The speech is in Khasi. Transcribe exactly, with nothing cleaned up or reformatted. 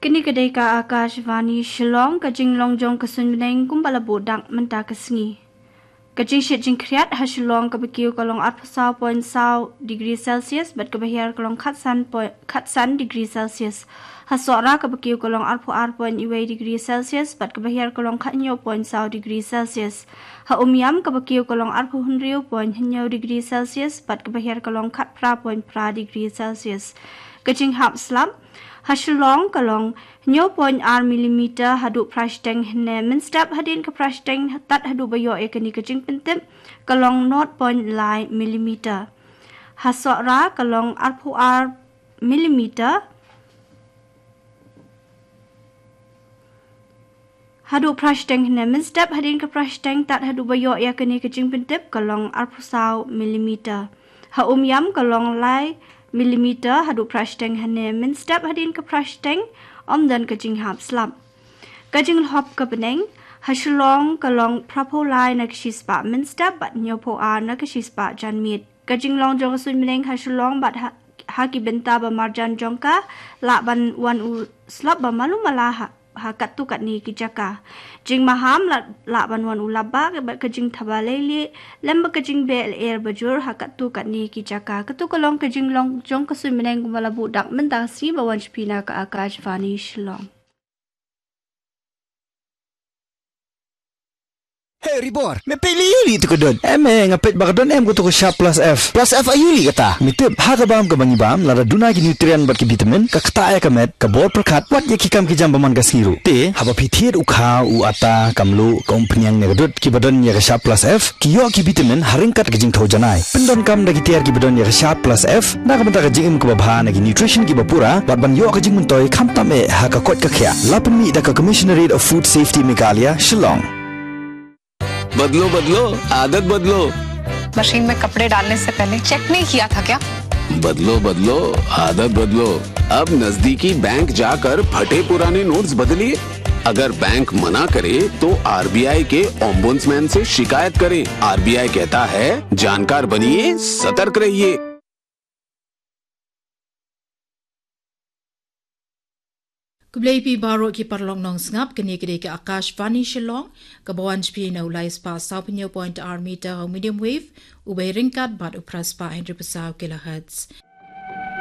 Kane ka dei ka Akashvani Shillong, ka jinglong jong ka suiñ bneng kumba la buh dak mynta ka sngi. Ka jingshit jingkhriat ha Shillong kaba kiew ka long arphew saw point saw degree Celsius bad kaba hiar ka long khatsan point, khatsan degree Celsius. Ha Sohra kaba kiew ka long arphew ar point wei degree Celsius bad kaba hiar ka long khathynñiew point saw degree Celsius. Ha Umiam kaba kiew ka long arphew hynriew point hynñiew degree Celsius bad kaba hiar ka long khatphra point phra degree Celsius. Ka jinghap slap ha Shillong ka long hynñiew point ar millimeter haduh phra shiteng hynne mynstep, hadien ka phra shiteng tad haduh ba ïoh ïa kane ka jingpyntip ka long nought point lai millimeter. Ha Sohra ka long arphew ar millimeter haduh phra shiteng hynne mynstep, hadien ka phra shiteng tad haduh ba ïoh ïa kane ka jingpyntip ka long arphew saw millimeter. Ha Umiam ka long lai millimeter haduh phra shiteng hynne mynstep, hadien ka phra shiteng ym don ka jinghap slap. Ka jinglhop ka bneng ha Shillong ka long phraphew lai na ka shispah mynstep bad hynñiewphew ar na ka shispah janmiet. Ka jinglong jong ka suiñ bneng ha Shillong bad ha, ha ki bynta ba marjan jong ka lah ban wan u slap ba malu mala ha, ha katto katne ki jaka. Jingmaham lah, lah ban wan u lap bad ka jingthaba leilieh lem bad ka jingbeh lyer bajur ha katto katne ki jaka. Kato ka long ka jinglong jong ka suiñ bneng kumba la buh dak mynta ka sngi ba wan sha phi na ka Akashvani Shillong. Hey Ribor, me peit lei ïa u lih tu ka dud. Em, eh, nga peit ba ka don em kato ka Sharp Plus F. Plus F aïu lih kata? Me tip, ha ka bam kaba ngi bam, lada duna ki nutrient bad ki vitamin, ka ktah ïa ka met, ka bor pyrkhat, wat ïa ki kam ki jam ba man ka sngi ruh. Te haba phi thied u khaw, u atta, ka mluh, ka umphniang ne ka dud kiba don ïa ka Sharp Plus F, ki ïoh ki vitamin ha ryngkat ka jingthew janai. Pyndonkam da ki tiar kiba don ïa ka Sharp Plus F na ka bynta ka jingim kaba bha, na ki nutrition kiba pura, bad ban ïoh ka jingmyntoi khamtam eh ha ka koit ka khiah. La pynmih da ka Commissionerate of Food Safety Meghalaya, Shillong. बदलो बदलो, आदत बदलो। मशीन में कपड़े डालने से पहले चेक नहीं किया था क्या? बदलो बदलो, आदत बदलो। अब नजदीकी बैंक जाकर फटे पुराने नोट्स बदलिए। अगर बैंक मना करे तो आरबीआई के ओम्बुड्समैन से शिकायत करें। आरबीआई कहता है, जानकार बनिए, सतर्क रहिए। Khublei phi baroh ki paralok nongsngap, kane ka dei ka Akashvani Shillong, kaba wan sha phi na u lai spah saw phew hynñiew point ar meter ha u medium wave, u ba ryngkat bad u phra spah hynriew phew saw kilohertz.